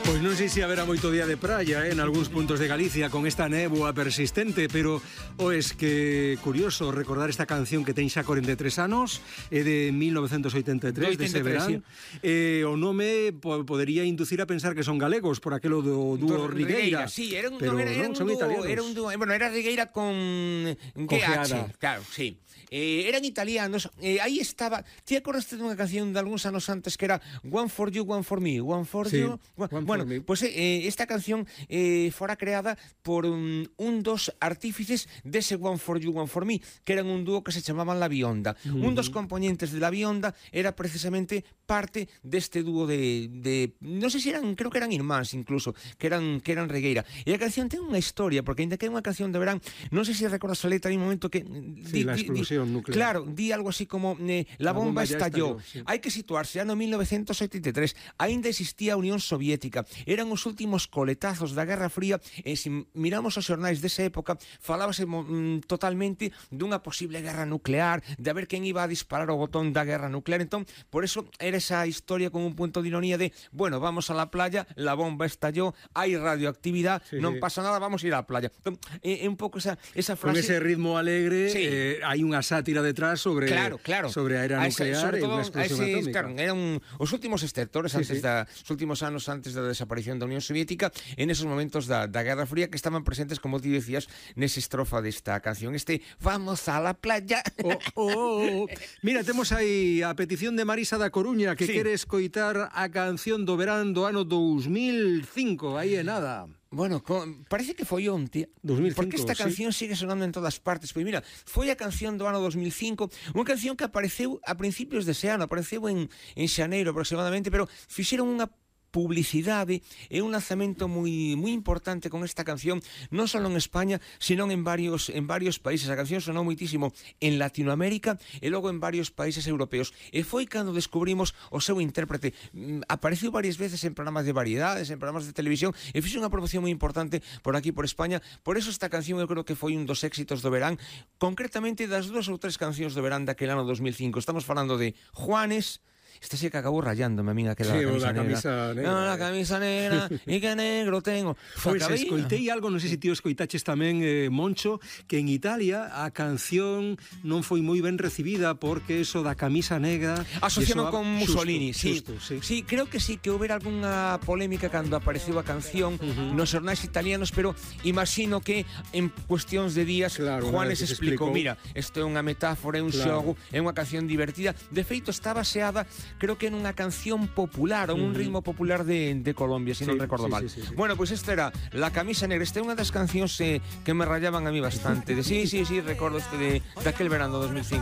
Pois non sei se haberá moito día de praia en algúns puntos de Galicia con esta néboa persistente, pero es que curioso recordar esta canción que ten xa 43 anos, é de 1983, dese verán. O nome podería inducir a pensar que son galegos por aquelo do dúo Rigueira. Sí, era un pero non, son italianos. Era un dúo, bueno, era Rigueira con GH, claro, sí. Eran italianos, aí estaba. Ti acordaste dunha canción de algúns anos antes que era One for You, One for Me, One for sí, You. Bueno, pues esta canción fora creada por un dos artífices dese One for You, One for Me, que eran un dúo que se chamaban La Bionda. Un dos componentes de La Bionda era precisamente parte deste dúo de non sei se eran, creo que eran irmáns incluso, que eran Regueira. E a canción ten unha historia, porque ainda que é unha canción de verán, non sei se recordas a letra, hai un momento que sí, la explosión nuclear. Claro, di algo así como la bomba estalló. Sí. Hai que situarse, ano 1983, aínda existía a Unión Soviética, eran os últimos coletazos da Guerra Fría, e se miramos os xornais desa época, falábase totalmente dunha posible guerra nuclear, de a ver quen iba a disparar o botón da guerra nuclear. Entón, por eso era esa historia con un punto de ironía de, bueno, vamos a la playa, la bomba estalló, hai radioactividad, sí, non pasa nada, vamos a ir á playa. Entón, é un pouco esa frase. Con ese ritmo alegre, sí. Hai unha sátira detrás sobre sobre a era nuclear e unha explosión atómica. Claro, eran os últimos estertores os últimos anos antes da desaparición da Unión Soviética, en esos momentos da Guerra Fría, que estaban presentes, como ti decías, nesa estrofa desta canción, vamos a la playa. Mira, temos aí a petición de Marisa da Coruña, que quere escoitar a canción do verán do ano 2005, aí é nada. Bueno, parece que foi onte, 2005, porque esta canción sigue sonando en todas partes. Pois mira, foi a canción do ano 2005, unha canción que apareceu a principios dese ano, apareceu en xaneiro aproximadamente, pero fixeron unha publicidade e un lanzamento moi importante con esta canción, non só en España, sino en varios países. A canción sonou moitísimo en Latinoamérica e logo en varios países europeos. E foi cando descubrimos o seu intérprete. Apareceu varias veces en programas de variedades, en programas de televisión, e fixe unha promoción moi importante por aquí, por España. Por eso esta canción eu creo que foi un dos éxitos do verán, concretamente das 2 ou 3 cancións do verán daquele ano 2005. Estamos falando de Juanes. Esta sí que acabou rayándome a min aquela camisa negra. No, la camisa negra, e que negro tengo. Pois escoitei algo, non sei se ti escoitaches tamén, Moncho, que en Italia a canción non foi moi ben recibida porque eso da camisa negra asociado con Mussolini. Xusto, sí, creo que sí, que houbera algunha polémica cando apareceu a canción nos xornais italianos, pero imagino que en cuestións de días Juanes explicou, mira, isto é unha metáfora, é un xogo, é unha canción divertida. De feito, está baseada, creo que en unha canción popular, ou un ritmo popular de Colombia, se non recordo mal. Sí. Bueno, pues esta era La camisa negra. Esta é unha das cancións que me rayaban a mí bastante. Sí, recordo de aquel verano 2005.